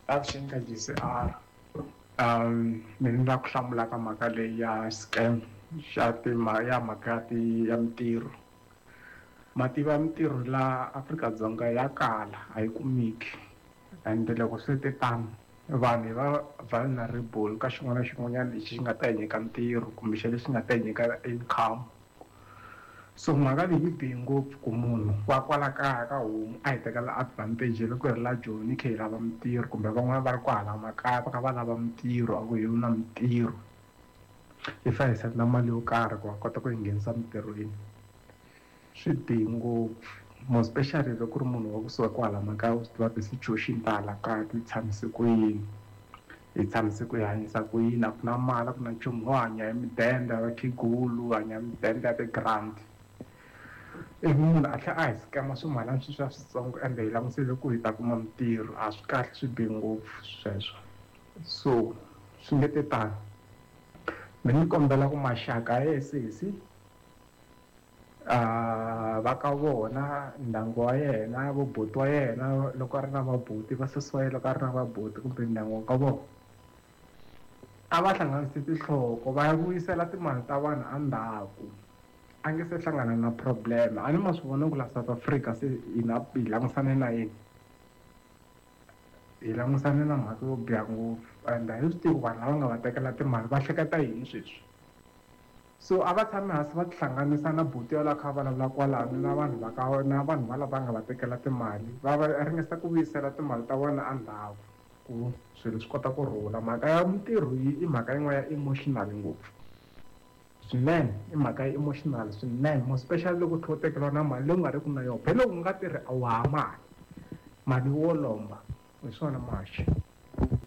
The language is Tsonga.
Avuxeni ka G_C_R mina ni lava ku hlamula ka mhaka leyi ya scam xa ya mhaka ya ti ya mintirho ma tiva mintirho la Afrika-Dzonga ya kala a yi kumeki and loko swi te tano vanhu hi va vulnerable ka xin'wana na xin'wanyana lexi xi nga ta hi nyika ntirho kumbe xa lexi nga ta hi nyika income. So mhaka leyi yi bihe ngopfu ku munhu wa kwala kaya ka homu a hi tekela advantage loko hi ri la Joni hi kha hi lava mintirho kumbe van'wana va ri kwahala makaya va kha va lava mintirho a ku hi na mintirho hi fanele hi senda mali yo karhi ku va kota ku yi nghenisa emintirhweni. Swi bihe ngopfu more especially loko ku ri munhu wa kusuka kwala makaya u swi tiva ti-situation ta hala kaya ti tshamise ku yini hi tshamise ku hi hanyisa ku yini a ku na mali a ku na nchumu ho hanya hi midende ya vakhegulu hanya hi midende ya ti-grant ivi munhu a tlhela a hi scam swimalana sweswiya switsongo ende hi langusele ku hi ta kuma mintirho a swi kahle swi bihe ngopfu sweswo so swi nge te tano mina ni kombela ku maxaka ya sesi va ka vona ndyangu wa yena vo buti wa yena loko a ri na vabuti va sesi wa yena loko a ri na vabuti kumbe ndyangu wa ka vona a va hlanganisi tinhloko va ya vuyisela timali ta vanhu endzhaku a nge se hlangana na problem a ni ma swi vona ku la South Africa se hina hi langusane na yini hi langusane na mhaka yo biha ngopfu and a hi swi tivi ku vanhu lava nga va tekela timali va hleketa yini sweswi so a va tshami hansi va tihlanganisa na buti yaloye a kha a vulavula kwalano na vanhu va ka na vanhu va lava nga va tekela timali va va ringesa ku vuyisela timali ta vona endzhaku ku swilo swi kota ku rhula mhaka ya mintirho yi i mhaka yin'wana ya emotional ngopfu swinene i mhaka ya emotional swinene more especially loko u tlhela u tekeriwa na mali leyi u nga ri ku na yona phela loko u nga tirhi a wu ha mali mali wo lomba hi swona muhaxi.